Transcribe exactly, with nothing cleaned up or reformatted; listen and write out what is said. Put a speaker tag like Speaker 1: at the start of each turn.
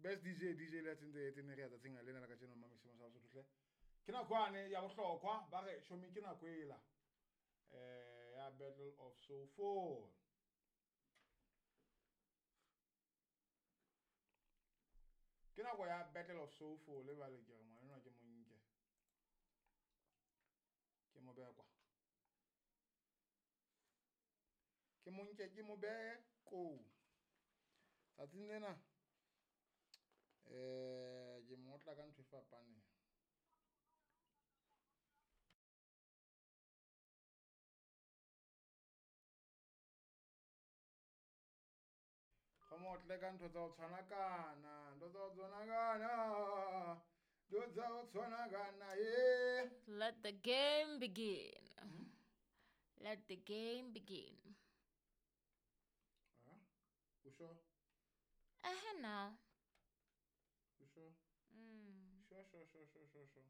Speaker 1: Best D J, D J le tse ntse tse re ya tsatsing lena la kajeno mama sa Sotho hle. Ke nako ane ya bohlokwa ba re shomi ke nako ela. Eh ya Battle of Soulful. Ke nako ya Battle of Soulful le bale ke re ngwana ke monke. Ke mo behe kwa. Ke monke ke mo behe ko. Tsatsing lena eh ke mo otla ka ntho e fapaneng. Ga mo otle ka ntho tsa ho tshwana kana, ntho tsa ho tshwana kana, ntho tsa ho tshwana kana, eh.
Speaker 2: Let the game begin.
Speaker 1: Hmm?
Speaker 2: Let the game begin.
Speaker 1: Ah, o sure?
Speaker 2: Eh, now.
Speaker 1: You sure?
Speaker 2: Mm.
Speaker 1: Sure, sure, sure, sure, sure, sure.